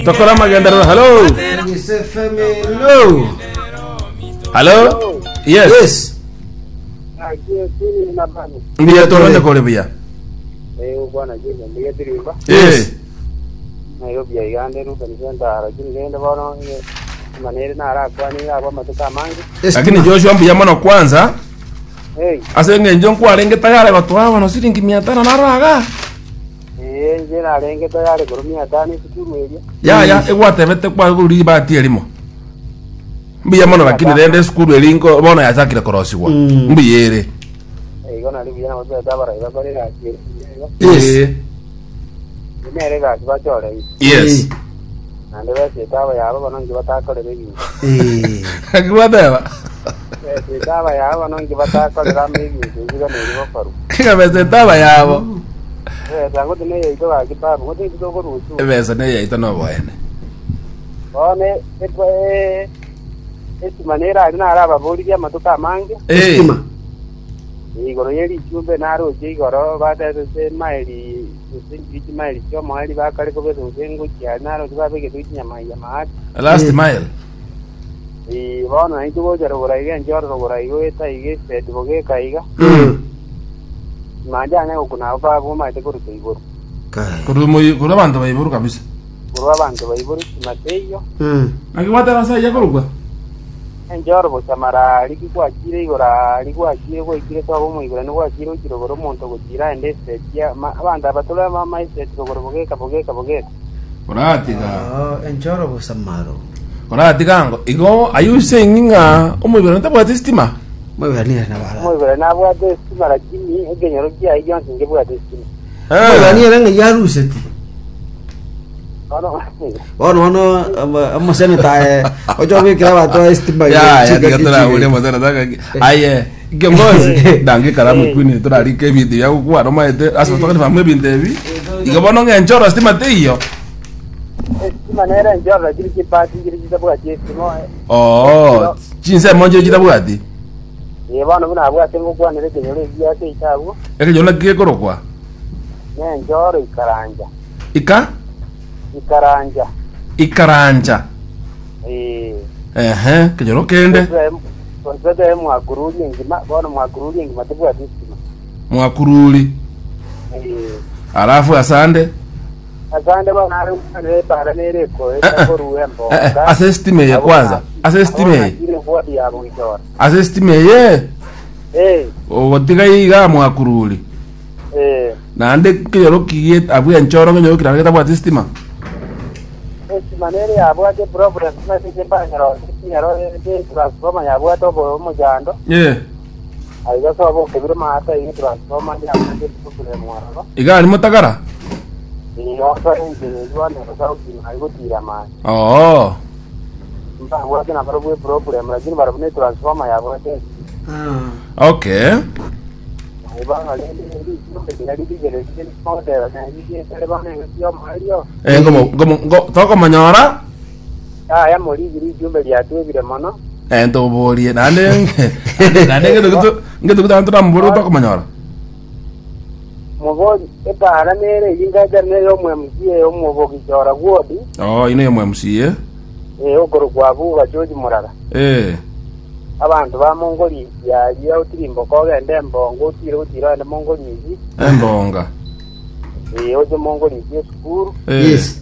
Tokora amagenderero. Hello. Yes, FM, hello. Hello. Yes. Yes. Mbuya toronde kore buya. Yes. Eh. Nairobi aigande Ruben Center lakini rende bono manere narakwanire abo amatuko amange Lakini Joshua mbuya mono kwanza. Hey, Ase eng'encho nkwarenge tayari gotoa bono siringi mia tano naraga. ee inche narenge tayari korwa mia tano esukuru eria. Yaya egwatebete kwaguru ribati erimo. Mbuya mono lakini rende esukuru eri nko bono yachakire korosigwa. Mm. Mbuya ere. Igo nari buya nabo tobete abarai bakore egasi ere igo. Yes. Eh. Nere egasi bachoreire. Yes. Naende besiete abayabo bono inki batakorera ebinto. Eh. Naki gwateba? Besiete abayabo bono inki batakorera amo ebinto ebi bono ebi bokorwa. Ng'a besete abayabo. Ebesa ngoti neyaito gaki babu, ngoti intwe tokorwa uchumi. Ebesa neyaito noboene. Bono e- e- estima nere aria narababoririe amatuko amange, Eh. Estima. igoro ye richumbe naroche igoro batete ase emaili gose nchiri chimaili chi'omoerio bakare kobeka gose ngochia aria naroche babegete chinyama maate. Last Eh. mile. Ee, bono naintwe gocha rogoro iga enchoro rogoro iga goeta iga eseti bogeka iga Mm. manja anya gokuna abo baba omanyete koruta igoro Kai. Korwa moi- korwa abanto baiboru kabisa. korwa abanto baiboru sima teiyo Mm. Naki gwateba ase ayia korokwa? enchoro bosamara aria ki gwachire igoro aria gwachire gwaikire sobo omoigorani gwachire gochia rogoro omonto gochira aende eseti ya- ma- abanto aba tore ama eseti rogoro bogeka bogeka bogeka Koratiga. Oh, enchoro bosamaro. Koratiga ango. Igo are you saying ng'a omoiborani tabwati estima? Moiborani ere nabara. omoigorani nabwate estima lakini ekenyoro kiaye gionsi nkebwate estima Moiborani ere ng'a yaruseti. bono Bono bono ama- omoseneta aye ocha obekera abanto estima Ya, ya, chingaki tiga torahure chire. mosena taka. Aye, kiongozi, dange karamu kwini torarika ebinto bia gokwana omaete ase tokani famu ebinto ebi. Igo bono ng'enchoro stima teiyo. estima nere enchoro lakini chipati nchire chitabwati estima Oh, chinsemo nchire chitabwati. Ee, bono buna abwate ngokwanera ekenyoro ekiya ase eito abwo, Ekenyoro naki gekorokwa? nenchoro ikaranja. Ika? Ikaranja. Ikarancha. Ee. Ehe, kenyoro kende. Gose mwakururi engima, bono mwakururi engima tebwati estima. Mwakururi. Ee. Alafu asande. Asande bono are gokwanera epaara nere ekoeta Eh, eh. korua embonga. Eh, eh, ase estima eye kwanza. Ase estima eye. Ire wodi ya Bogichora. Ase estima eye. Eh, Ogotiga iga mwakururi. eh. Naende kenyoro kigie abwo enchoro kenyoro kirare getabwati estima. Estima nere yabwate problem ase chimbanyero chinyero transformer yabwate obo omochando. Eh. Aiga sobo okebire maata iga transformer yabwate problem ororo. Iga ari motagara. Iyo osoe enchera eywo bono sauti ari gotira amache. Oo. Mbabwate nabarobwo eproblem lakini barobwo ne transformer yabwate. Ah. Okay. Bono rende richumbe riria ririgererie rigoteba narigietare bono engaki y'omoerio. Eh, ngomo ngomo ngo tokomonyora. Yaya morigi richumbe riatwebire mono. Eh, ntoborie naende naende ngeto geto ngeto geto toramobore tokomonyora. Mobori epaara nere eyio ngacha neye omo-MCA omobogichora gwodi. Oh, ino yomo MCA. Ee, okorokwa Abuga George Muraga. Eh. Abanto ba Mongorisi aria otirimboka ogende embonga otire gotira ogende Mongorisi. Embonga. Ee, oche Mongorisi esukuru. Eh. Yes.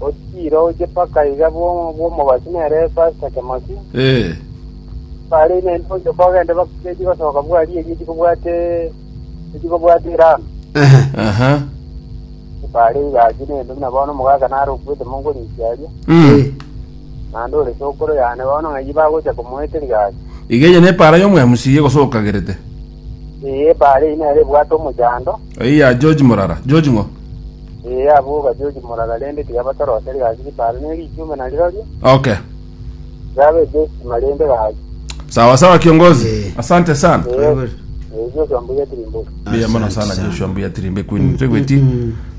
Otire oche paka iga bwo- bw'omobasi nere Pastor Kemosi. Eh. Bare ime ochoka ogende bakechi gosoka bwari eria chikobwate echikobwate erami. Ehe. Aha. Bare egasi nende buna bono omogaka nare okwete Mongorisi aria. Mm. Eh. Naende ore sokoro yane bono ng'ai bagocha komoeteria gasi. Iga eye nepaara y'omwemusi egosokagerete. Ee, epaara eyio nere ebwate omochando. Eyio ya George Morara. George ng'o? Ee, abwo ba George Morara rende tiga batoroserie gasi ripaara ne richume narirorio. Okay. Riabe estima rende gasi. Sawa sawa kiongozi. Eh. Asante sana. Ee, ee, Joshua Mbuya Tirimbo. Mbuya mono sana Joshua Mbuya Tirimbe Queen. Twegweti.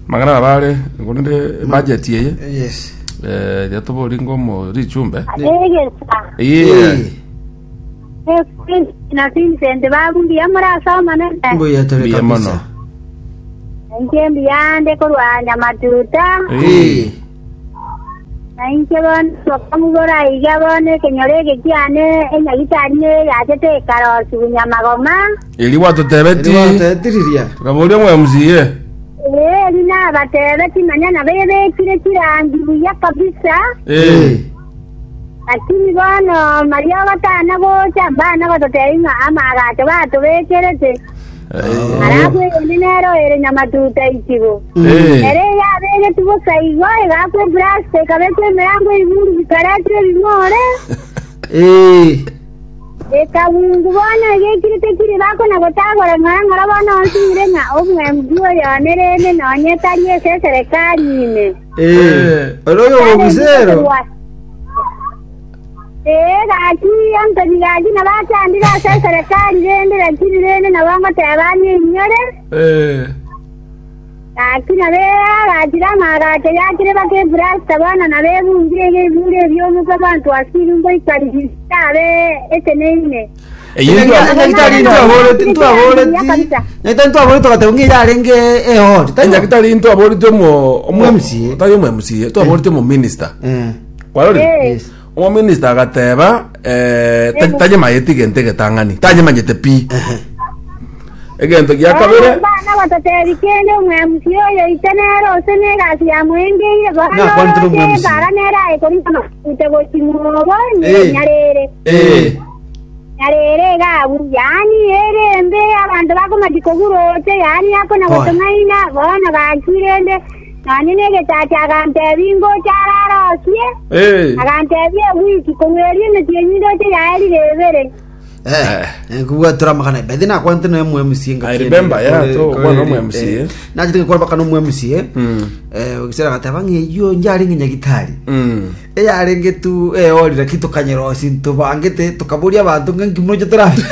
Magana nabare ngorinde budget eye. Yes. Eh, yatobori ngomo richumbe. Egesa. Yeah. Eh. Na Vincent babu mbuya morasoma nene. Mbuya tore Mbuya mono. kabisa. Inche mbuya nde korwa Nyamatuta. Eh. Eh. Na inche bono bakamobora iga, Bono ekenyoro eke kiane enyagitari neye yachete ekarosigwa nyamagoma. Erio gwatotebeti, Riria. tukaboria omwMCA. Ee, erio nabatebeti, manya nabo ebekire chirangi buya kabisa. Eh. Lakini bono mariogo tana gocha, mbana gototebia ng'a amaagacho batobekerete. Alafu eyende nero ere nyamatuta ichigo. Eh. Ere yabegetwe bosa igo, egaakwa eplasta, ekabekwa emerango ebibungu bikaretwa ebimore, Eh. ekabungu bono egekire tekiri bakona gotagora ng'ora ng'ora bono onsinyire ng'a omwembi oyo one rende nonye tari ase eserekari ime. Eh. Oro oyo obisero. Ee, gaki Anthony gaki nabachandire ase eserekari rende lakini rende nabo ngoteba ninyore. Eh. Gaki nabe agachire amagacho yakire baka eplasta bono nabo ebungire iga ebure ebiomoka abanto asiri ngoikarisi abe eteneine. Eyio ntwa- Nyagitari ntwaboreti ntwaboreti. Nyagitari ntwaboreti togateba ng'a yarenge ehori. Enyagitari ntwaboreti omo omo MCA. tari omo MCA twaboreti omo minister. Eh. Kwarorire? Eh. Yes. Omominista agateba eh, ta- tanyemanyeti egento egetang'ani tanyemanyete pi egento gia kabere Bana batotebi kende omwemusi oyo ite nere ose negasi yamoengeire bono Nakwantire oroche omwemusi. bara nere aye korina amakute gochimwobo Eh. nyarere eh, nyarere igabu yaani ere embe abanto bakomachi koguroche yaani akona Pole. gotong'aina bono gakirende Nonya negechacho agantebia, Ngocha ararosie. Eh. Agantebia, Ewiki korwa erio emetienyi ndoche yaerire ebere. Eh, kubwatura amagana bethe nakwante no MMC I remember, yeah, to okwana omu MC, eh. nachete ngakora baka no MMC eh. Mm. Eh, gisera gateba ng'eyo njarenge nyagitari Mm. eyarenge tu eorire ki tukanyerosi ntubangete tukaboria abanto ng'a nkimoche torabe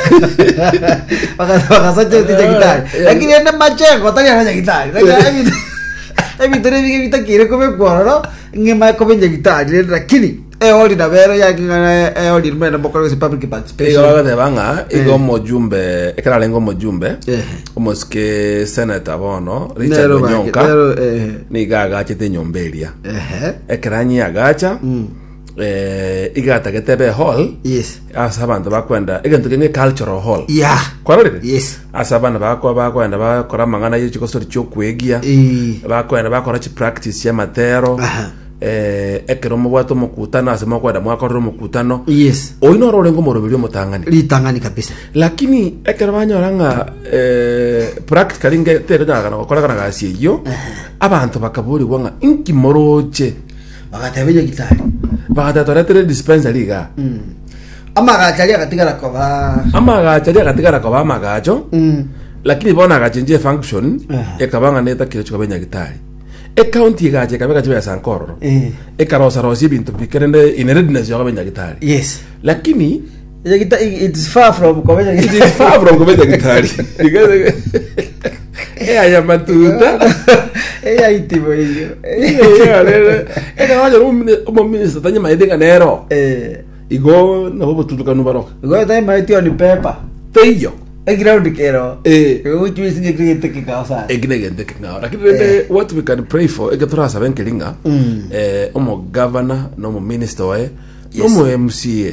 bagasacha nyagitari lakini ende machengo tari ara nyagitari Lakini ebinto nebige bitakire kobekwa ororo ng'ema kobe nyagitari rende lakini eori nabo ero yang'ana eori mende mokore gose public Igo participation bagateba ng'a igo omojumbe ekero arenge omojumbe Ehe. omosike senator bono Richard Nero bake- Onyonka nero, ehe. nigo agachete enyomba eria Ehe. Ekero anyiagacha, eh, iga atagete ebe hall Yes. ase abanto bakwenda egento kenge cultural hall Yeah. kwarorire Yes. ase abana bakwa bakwenda bakora amang'ana ye chigosori chiokwegia Eh. bakwenda bakora chipractice chiamatero Aha. eh, ekero mobwate omokutano ase mokwenda mwakorera omokutano Yes. oyi noro orenge omoroberi omotang'ani Ritang'ani kabisa. lakini ekero banyora ng'a eh, practically nge tekonyarekana gokorekana gasi eyio abanto bakaborigwa ng'a inki moroche Bagateba enyagitari. bagateba toretere dispensary iga Amagacho aria agatigara koba amagacho aria agatigara koba amagacho lakini bono agachenjia efunction Aha. ekaba ng'a netakire chikoba enyagitari ecounty egacha ekabeka chibesa nkororo Eh. ekarosarosia ebinto bikerende in readiness yokoba enyagitari Yes. lakini Enyagita it is far from koba It enyagitari. is far from koba enyagitari aya matuta Eyaitibo iyo. ekero omominista tanyamaete ng'a nero Eh. igo nabo obotutukanu baroka Igo taimaeti on paper. teiyo Eground kero. Eh. Which means ngekirete kikao sana. eki negento ekeng'ao lakini rende what we can pray for eke torasabe nkeri ng'a eh, omogavana na omominista oye Yes. omo MCA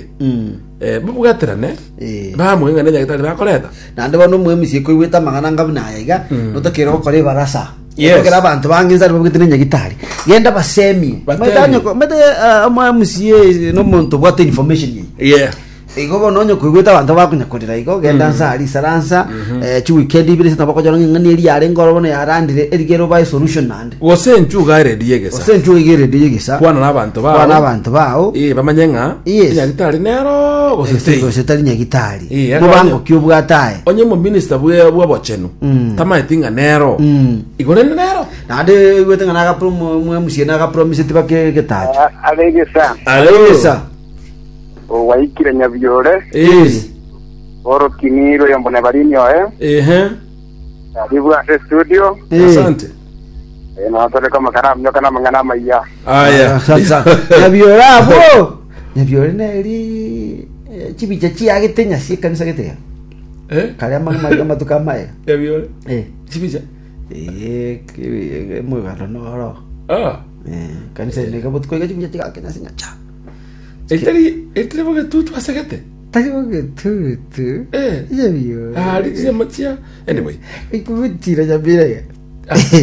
eh, babwaterane Eh. bamwe ng'a nenyagitari bakoreta naende bono omwemisi koigwete amang'ana anga buna aya iga notakere gokora ebarasa Yes. Notokere abanto bange nsa babwete nenyagitari genda basemie Batemie. Maete onye ko- maete omwemisi nomonto obwate information eye yeah igo bono onye koigwete abanto bakonyakorera igo genda nsa aria isaransa chiweekend ibere ase nabo bakonyora ng'a eng'ana eria yarenge oro bono yarandire erigere obae solution naende gose enchuga eredi egesa gose enchuga iga eredi egesa kwana na abanto bao kwana abanto bao Eh, bamanye ng'a Yes. nyagitari nero gose tei gose tari nyagitari Eh, aka mobango onye- ki obwate aye onye omominista bwe bw'obochenu tamaeti ng'a nero igo rende nero naende igwete ng'a nagapro mwemusie nagapromiseti bake getacho Aregesa Egesa. owaikire nyabiore Yes. orokinirwe yombo nebarini oe Ehe. karibu ase studio Eh. Asante. notoreka amakara amnyoka namang'ana amaiya Aya. Sasa nyabiore abwo nyabiore neri eh, chibicha chiagete nyasi ekanisa gete ya Eh? kare amang'ana amatuko amaya Yabiore. eh Chibicha. eh emogano noro Ah. Eh, kanisa ende iga botuko iga chimbuya chigakenya ase nyacha. Etari etari bogetutu asegete. Tari bogetutu. Eh. Nyabiore. Ari chinyama chia. Anyway. Ikubutira nyamira iga.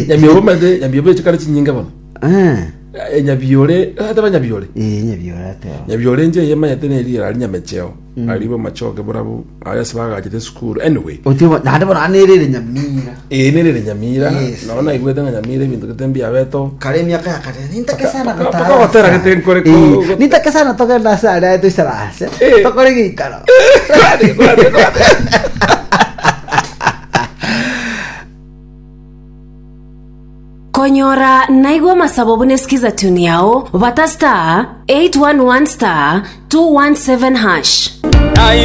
Nyamiobo mate nyamiobo echikare chinyinge bono. Eh. Eh, Nyabiore, ateba nyabiore. Eh, nyabiore ateba. Nyabiore nje yemanyete neri ari nyamecheo. Ari bo machoke borabu, ari ase bagachete esukuru. Anyway. Otimo naende bono anerere nyamira. Ee nerere nyamira. Yes. Nono naigwete ng'a nyamira ebinto gete mbiabeto. Kare emiaka ya kare nintake sana Paka- gotara. paka gotera gete nkore ko- Eh, nintake sana togenda ase aria toisaranse. Eh. Tokore geikaro. Kwate, kwate, kwate. Konyora naigwe amasabo buna esikiza tune yao, bata star 811 star 217 hash.